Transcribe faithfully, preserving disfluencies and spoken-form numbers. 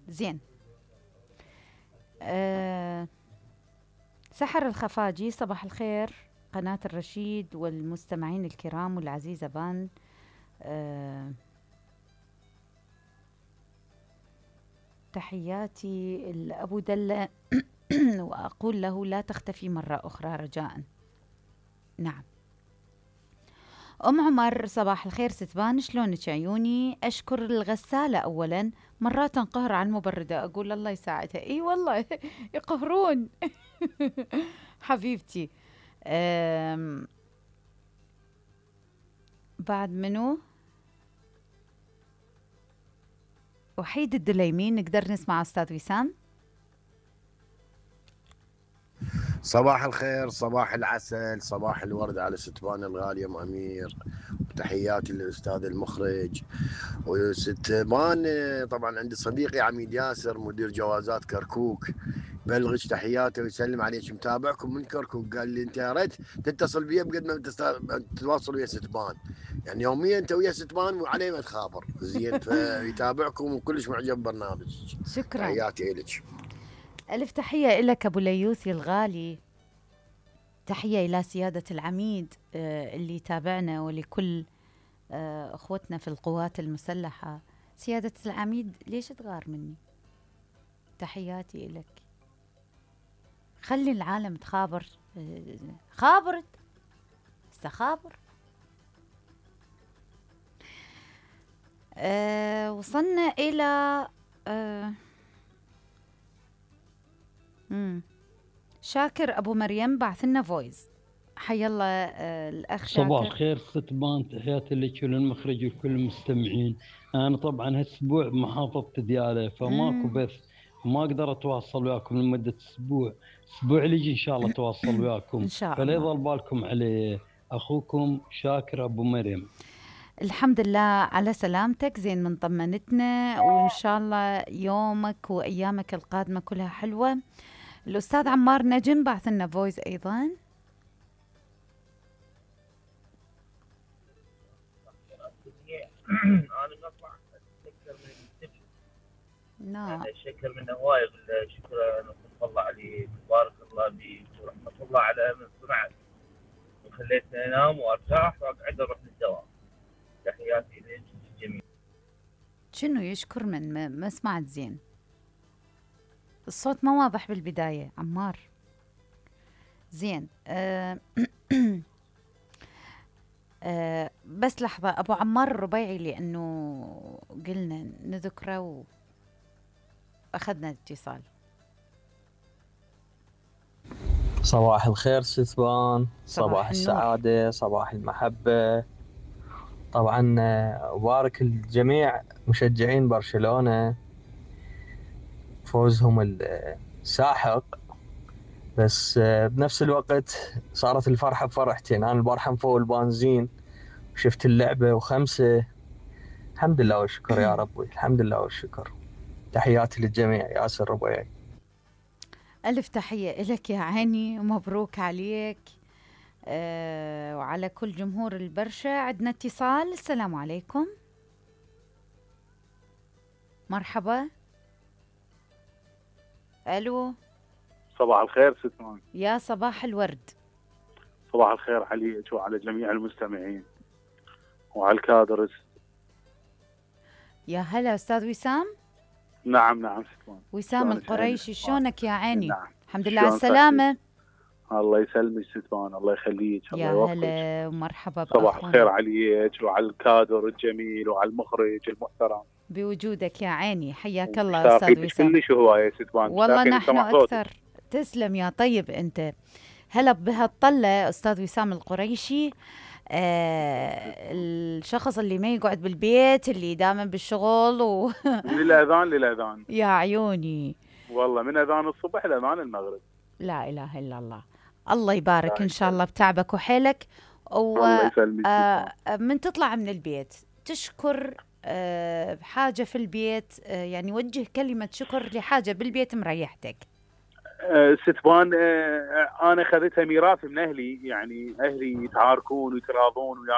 زين. أه سحر الخفاجي، صباح الخير قناة الرشيد والمستمعين الكرام والعزيزة بان. أه تحياتي لأبو دلة وأقول له لا تختفي مرة أخرى رجاء. نعم. أم عمر، صباح الخير ستبان، شلونك عيوني؟ أشكر الغسالة أولا، مرات انقهر على المبردة، أقول الله يساعدها. إي والله يقهرون. حبيبتي. بعد منو؟ وحيد الدليمين، نقدر نسمع أستاذ وسام؟ صباح الخير، صباح العسل، صباح الورد على ستبان الغالية ام امير، وتحياتي للاستاذ المخرج وستبان. طبعا عندي صديقي عميد ياسر مدير جوازات كركوك، بلغك تحياته ويسلم عليك، متابعكم من كركوك. قال لي انت يا ريت تتصل بي بقد ما تتواصل ويا ستبان، يعني يوميا انت ويا ستبان وعليه ما تخابر. زين، فيتابعكم وكلش معجب برنامجك. شكرا، تحياتي لك. ألف تحية لك أبو ليوثي الغالي. تحية إلى سيادة العميد آه اللي يتابعنا، ولكل آه أخوتنا في القوات المسلحة. سيادة العميد ليش تغار مني؟ تحياتي لك. خلي العالم تخابر. آه خابرت استخابر. آه وصلنا إلى آه مم. شاكر أبو مريم بعث لنا فويس. حي الله آه الأخ شاكر. صباح الخير ستبان، تحياتي لك وللمخرج وكل المستمعين. أنا طبعا هالأسبوع بمحافظة ديالى فماكو بث، ما أقدر أتواصل وياكم لمدة أسبوع. أسبوع اللي إن شاء الله أتواصل وياكم. إن شاء فلا الله. يضل بالكم عليه. أخوكم شاكر أبو مريم. الحمد لله على سلامتك، زين من طمنتنا، وإن شاء الله يومك وأيامك القادمة كلها حلوة. الأستاذ عمار نجم بعث لنا فويس أيضا. انا نطلع اتذكر من السجن. نعم. انا اشكر من هواي، شكرا رحمة الله عليك، بارك الله بيك، ورحمة الله على من سمعت وخليتني انام وارتاح واقعد اروح للدوام. تحياتي لك الجميع. شنو يشكر من ما, ما سمعت زين، الصوت ما واضح بالبداية عمار. زين. أه أه بس لحظة، أبو عمار الربيعي، لأنه قلنا نذكره وأخذنا اتصال. صباح الخير ستبان، صباح صباح السعادة، صباح المحبة. طبعا أبارك الجميع مشجعين برشلونة فوزهم الساحق، بس بنفس الوقت صارت الفرحة بفرحتين. أنا البارحة مفوق البنزين وشفت اللعبة وخمسة، الحمد لله والشكر يا ربي، الحمد لله والشكر. تحياتي للجميع. ياسر ربيعي. ألف تحية لك يا عيني، ومبروك عليك أه وعلى كل جمهور البرشا. عندنا اتصال. السلام عليكم. مرحبا. ألو. صباح الخير ستمان. يا صباح الورد. صباح الخير عليك وعلى جميع المستمعين وعلى الكادرس. يا هلا أستاذ وسام. نعم نعم ستمان. وسام القريشي، شلونك يا عيني؟ نعم. الحمد لله على السلامة. الله يسلمك ستمان، الله يخليك، الله يا يوفقك. هلا ومرحبا. صباح الخير عليك وعلى الكادر الجميل وعلى المخرج المحترم بوجودك يا عيني. حياك الله أستاذ وسام. كلش هواية ستمان. والله نحن أكثر. تسلم يا طيب أنت. هلا بهالطلة أستاذ وسام القريشي. آه الشخص اللي ما يقعد بالبيت، اللي دائما بالشغل و... للأذان للأذان يا عيوني والله، من أذان الصبح لأذان المغرب. لا إله إلا الله. الله يبارك إن شاء الله بتعبك وحيلك. و... الله يسلمك. آه من تطلع من البيت تشكر آه حاجة في البيت، آه يعني وجه كلمة شكر لحاجة بالبيت مريحتك. أه ستبان، أه أنا خذيتها ميراث من أهلي، يعني أهلي يتعاركون ويتراضون